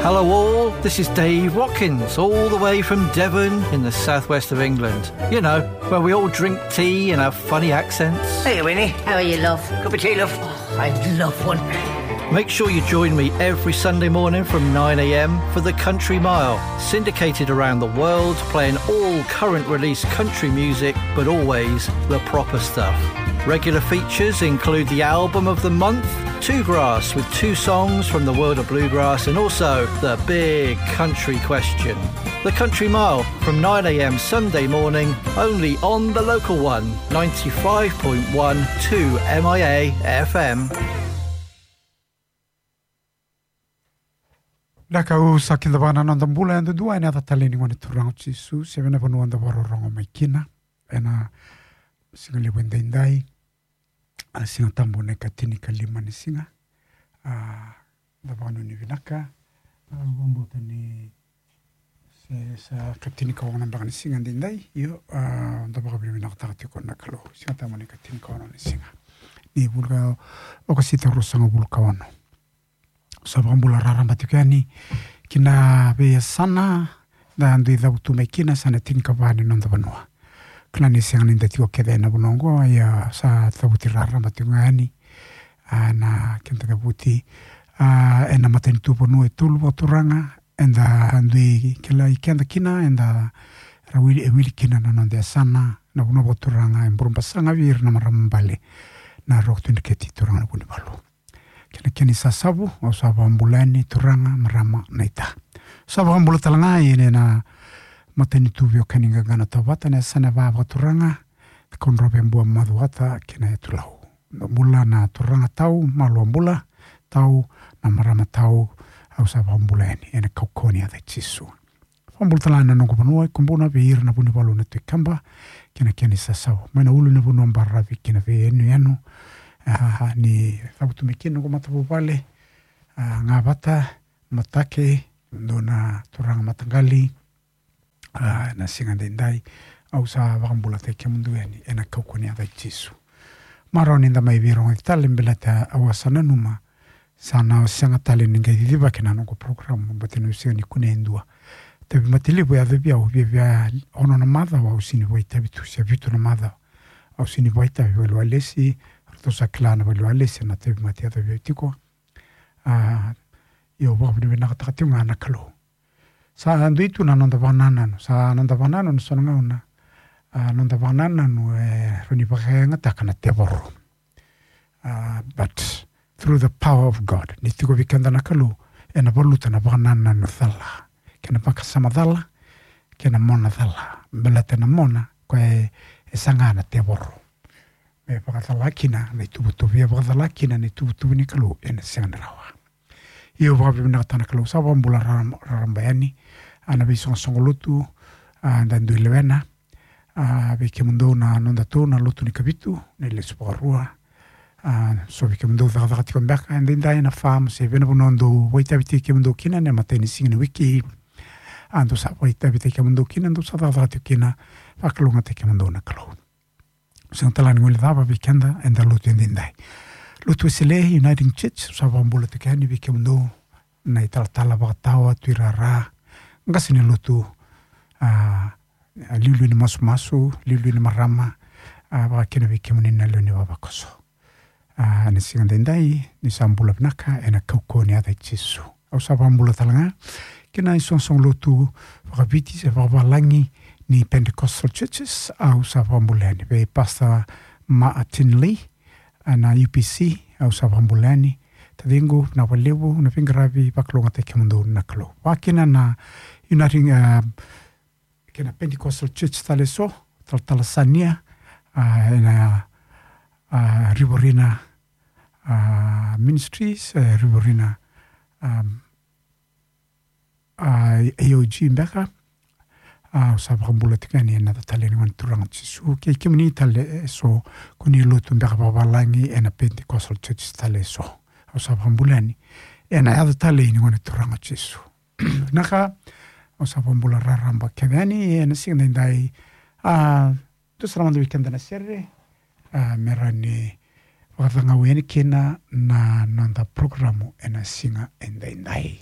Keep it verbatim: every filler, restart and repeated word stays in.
Hello all, this is Dave Watkins, all the way from Devon in the southwest of England. You know, where we all drink tea and have funny accents. Hey, Winnie. How are you, love? Cup of tea, love? Oh, I'd love one. Make sure you join me every Sunday morning from nine a.m. for The Country Mile, syndicated around the world, playing all current release country music, but always the proper stuff. Regular features include the album of the month, Two Grass, with two songs from the world of bluegrass, and also the big country question. The Country Mile from nine a.m. Sunday morning, only on the local one, ninety-five point one two M I A F M. Na ka au sa kidavaka na noda bula yadudua ena yaca talei ni Gone Turaga o Jisu, se vei na vanua da vakarorogo mai kina ena siga levu edaidai. A, Siga Tabu na ikatinikalima ni siga. A, da vakanuinui vinaka. A, vakabauta ni se sa ikatinikaono beka ni siga edaidai. Io, a, da vakavinavinakataka tiko na Kalou. Siga Tabu na ikatinikalima ni siga ni vula ka, okasita ruasagavulu ka ono. Sa vakabula raraba tiko yani ki na veiyasana da dui cavutu mai kina, sa na tinikava ni noda vanua. Kila ni sega ni da tiko kece ena vanua oqo, ia sa cavuti raraba tiko ga yani, a, na keda cavuti, a, ena matanitu vanua e tolu vakaturaga, eda dui kilai keda kina, eda ra wili, e wili kina na noda yasana, na vanua vakaturaga e Burebasaga vei ira na marama bale na Roko Tui Dreketi, turaga na Vunivalu. Kei na kena isasavu, au sa vakabula yani turaga, marama, naita. Au sa vakabula tale ga yani ena matanitu veiwekani qaqa na Tovata, na yasana e va vakaturaga, Cakaudrove, Bua, Macuata kei na Yatu Lau. Bula na turaga tau, malua bula tau, na marama tau, au sa vakabula yani ena kaukauwa ni yaca i Jisu. Vakabula tale ga na noqu vanua e Kubuna vei ira na Vunivalu na Tui Kaba kei na kena isasavu. Mai na ulunivanua baravi ki na veiyanuyanu, a, ni cavutu mai kina noqu matavuvale, a, Gavata, Matake, dua na turaga mataqali, a, na siga edaidai, au sa vakabulataki kemudou yani ena kaukauwa ni yaca i Jisu. Marau ni da mai veirogoci tale, baleta au a sa nanuma sa na sega tale ni qai cicivaki na noqu program, baleta niu sega ni kunea e dua. Tauvimate levu e yaco vei au, viavia ono na macawa au sega ni vakaitavi tu, se vitu na macawa au sega ni vakaitavi. Vale ni walesi, ratou sa kila na vale ni walesi na tauvimate e yaco vei au tiko. A, io, vakavinavinakataka tiko ga na Kalou. Sa dui tu na noda vakanananu, sa noda vakanananu so na gauna, a, noda vakanananu e rawa ni vakayagataka na tevoro. A, but through the power of God, ni tiko vei keda na Kalou, ena valuta na vakanananu cala kei na vakasama cala kei na mona cala. Baleta na mona, koya e, e saga na tevoro me vakacala kina na ituvatuva, e vakacala kina na ituvatuva ni Kalou ena sega ni rawa. Io, vakavinavinakataka na Kalou, sa vakabula raraba, raraba yani, a, na veisoqosoqo lotu, a, da dui lewena, a, vei kemudou na nodatou na lotu ni Kavitu, na ilesu vakarua, a, so vei kemudou cakacaka tiko beka edaidai ena farm, se vei na vanua dou vakaitavi tiko kemudou kina ena imatai ni siga ni wiki, a, dou sa vakaitavi tiko kemudou kina, dou sa cakacaka tiko kina, vakalougatataki kemudou na Kalou. Sega tale ni guilecava vei keda eda lotu edaidai. Lotu Wesele, Uniting Church, sa vakabula tiko yani vei kemudou na italatala vakatawa, tuirara, qase ni lotu, a, liuliu ni masumasu, liuliu ni marama, a, vakakina vei kemuni na lewe ni vavakoso. A, ena siga edaidai, ni sa bula vinaka ena kaukauwa ni yaca i Jisu. Au sa vakabula tale ga ki na isoqosoqo lotu vakaviti se vakavalagi ni Pentecostal Churches, au sa vakabula yani vei Pastor Martin Lee, a, na U P C, au sa vakabula yani. Taciqu, vinaka vakalevu na veiqaravi, vakalougatataki kemudou na Kalou. Vakakina na Uniting, a, kei na Pentecostal Church tale eso, talatala Sania, a, ena, a, Riverina, a, Ministries, e, Riverina, a, a, A O G beka, a, au sa vakabula tiko yani ena yaca talei ni Gone Turaga o Jisu, kei kemuni tale eso ko ni lotu beka vakavalagi ena Pentecostal Church tale eso. Au sa vakabula yani ena yaca talei ni Gone Turaga o Jisu. Na ka, au sa vakabula raraba kece yani ena siga edaidai, a, dou sa na mada vei keda na sere, a, me rawa ni vakacagau yani kina na noda porokaramu ena siga edaidai.